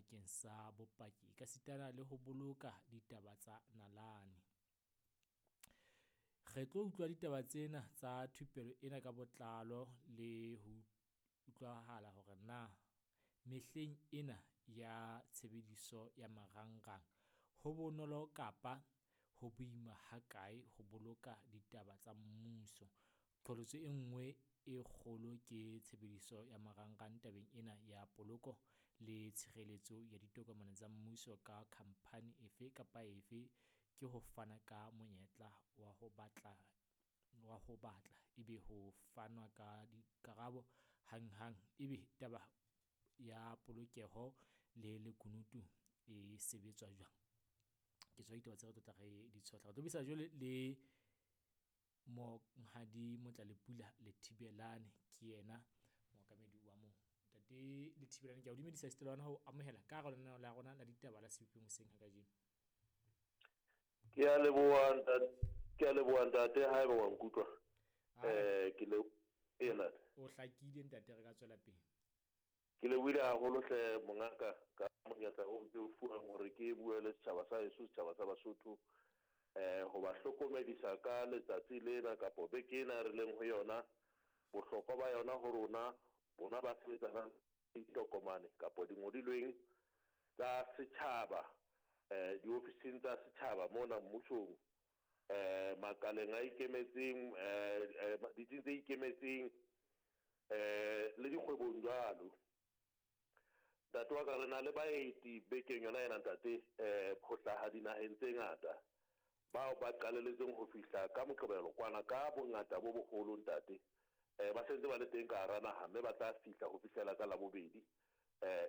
bakeng sa bopaki ekasitana le ho boloka ditaba tsa nalane. Re tlo utlwa ditaba tsena tsa thupelo ena ka botlalo le ho utlwahala hore na mehleng ena ya tshebediso ya marangrang ho bonolo kapa ho boima ha kae ho boloka ditaba tsa mmuso. Qholotso e nngwe e kgolo ke tshebediso ya marangrang tabeng ena ya poloko le tshireletso ya ditokomane tsa mmuso ka khampani efe kapa efe ke ho fana ka monyetla wa ho batla wa ho batla ebe ho fanwa ka dikarabo hanghang ebe taba ya polokeho le lekunutu e sebetswa jwang. Ke tsona ditaba tse re tlo tla re di tshohla. Re tlo buisana jwale le Monghadi Motlalepula Lethibelane ke yena mookamedi wa moo. Ntate Lethibelane ke a o dumedisa esita le hona ho amohela ka hara lenaneo la rona la ditaba la Sebopeng hoseng ha kajeno. Ke a leboha ntate, ke a leboha ntate haeba wa nkutlwa. Ke le ee ntate. O hlakile ntate re ka tswela pele. Ke lebohile haholo hle mongaka ka monyetla o ke o fuwang hore ke bue le setjhaba sa heso, setjhaba sa Basotho. Ho ba hlokomedisa ka letsatsi lena kapo beke ena re leng ho yona, bohlokwa ba yona ho rona, bona ba sebetsanang le ditokomane kapo dingodilweng tsa setjhaba, diofising tsa setjhaba mona mmusong, makaleng a ikemetseng, ditsing tse ikemetseng, le dikgwebong jwalo. Ntate wa ka re na le baeti bekeng yona ena ntate, ho hlaha dinaheng tse ngata bao ba qalelletseng ho fihla ka Moqebelo kwana ka bongata bo boholo ntate. Ba sentse ba le teng ka hara naha mme ba tla fihla ho fihlela ka Labobedi.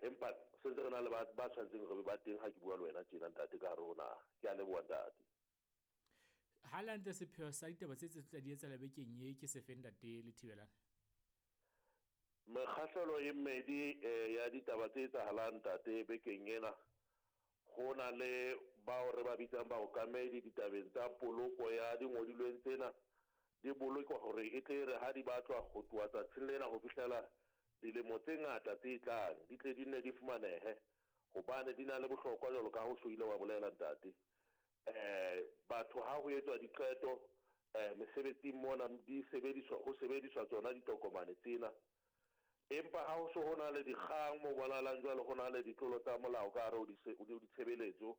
Empa sentse re na le ba ba tshwanetseng re be ba teng ha ke bua le wena tjena ntate ka hare ho naha. Ke a leboha ntate. Ha le hantle sepheo sa ditaba tse tse tla di etsahala bekeng ye ke sefeng ntate Lethibelane? Mekgahlelo e mmedi ya ditaba tse etsahalang ntate bekeng ena, ho na le bao re ba bitsang baokamedi ditabeng tsa poloko ya dingodilweng tsena di bolokwa hore e tle re ha di batlwa ho tloha tsatsing lena ho fihlela dilemo tse ngata tse tlang di tle di nne di fumanehe hobane di na le bohlokwa jwalo ka ha o so ile wa bolela ntate. Batho ha ho etswa diqeto mesebetsing mona di sebediswa ho sebediswa tsona ditokomane tsena. Empa ha ho so ho na le dikgang mo bonahalang jwale ho na le ditlolo tsa molao ka hare ho ditshebeletso,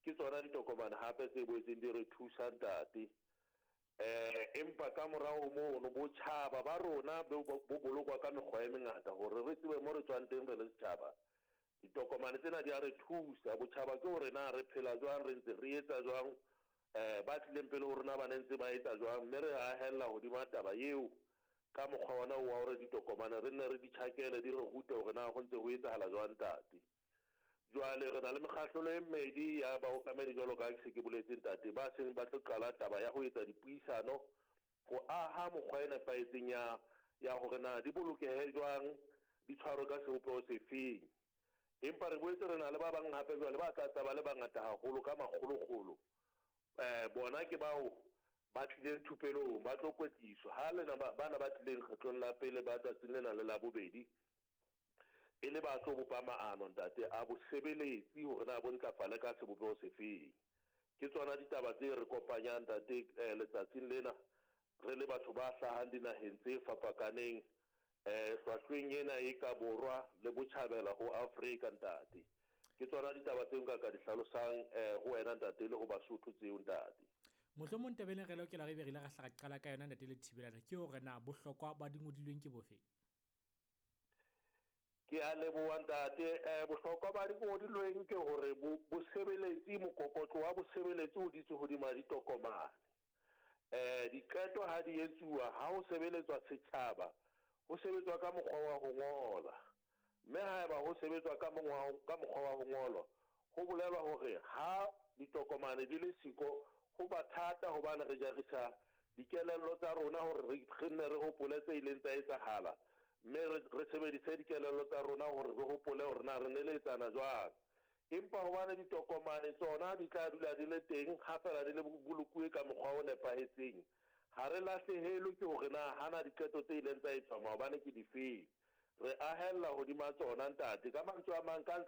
ke tsona ditokomane hape tse boetseng di re thusa ntate. Empa ka morao ho mono botjhaba ba rona bo bolokwa ka mekgwa e mengata hore re tsebe mo re tswang teng re le setjhaba. Ditokomane tsena di a re thusa. Botjhaba ke hore na re phela jwang, re ntse re etsa jwang, ba tlileng pele ho rona ba ne ntse ba etsa jwang, mme re ahella hodima taba eo ka mokgwa ona wa hore ditokomane re nne re di tjhakele di re rute hore na ho ntse ho etsahala jwang ntate. Jwale re na le mekgahlelo e mmedi ya baokamedi jwalo ka ha ke se ke boletse ntate, ba seng ba tlo qala taba ya ho etsa dipuisano ho aha mokgwa e nepahetseng ya ya hore na di bolokehe jwang, di tshwarwe ka sebopeho sefeng. Empa re boetse re na le ba bang hape jwale ba tla tla ba le bangata haholo ka makgolokgolo. Bona ke bao ba tlileng thupelong ba tlo kwetliswa. Ha lena bana ba tlileng kgetlong la pele ba tsatsing lena le Labobedi e le ba tlo bopa maano ntate a bosebeletsi hore na bo ntlafale ka sebopeho sefeng. Ke tsona ditaba tse re kopanyang ntate letsatsing lena re le batho ba hlahang dinaheng tse fapakaneng hlwahlweng ena e ka borwa le botjhabela ho Afrika ntate. Ke tsona ditaba tseo nka ka di hlalosang ho wena ntate le ho Basotho tseo ntate. Mohlomong taba ena re lokela re be re ile ra hla ra qala ka yona ntate Lethibelane ke hore na bohlokwa ba dingodilweng ke bofe? Ke a leboha ntate. Bohlokwa ba dingodilweng ke hore bosebeletsi, mokokotlo wa bosebeletsi o dutse hodima ditokomane. Diqeto ha di etsuwa ha ho sebeletswa setjhaba, ho sebetswa ka mokgwa wa ho ngola. Mme haeba ho sebetswa ka ka mokgwa wa ho ngolwa, ho bolelwa hore ha ditokomane di le siko ho ba thata hobane re jarisa dikelello tsa rona hore re nne re hopole tse ileng tsa etsahala, mme re sebedise dikelello tsa rona hore re hopole hore na re neletsana jwang. Empa hobane ditokomane tsona di tla dula di le teng ha feela di le bolokuwe ka mokgwa o nepahetseng, ha re lahlehelwe ke hore na hana diqeto tse ileng tsa etswa maobane ke difeng. Re ahella hodima tsona ntate. Ka mantswe a mang, ka ntle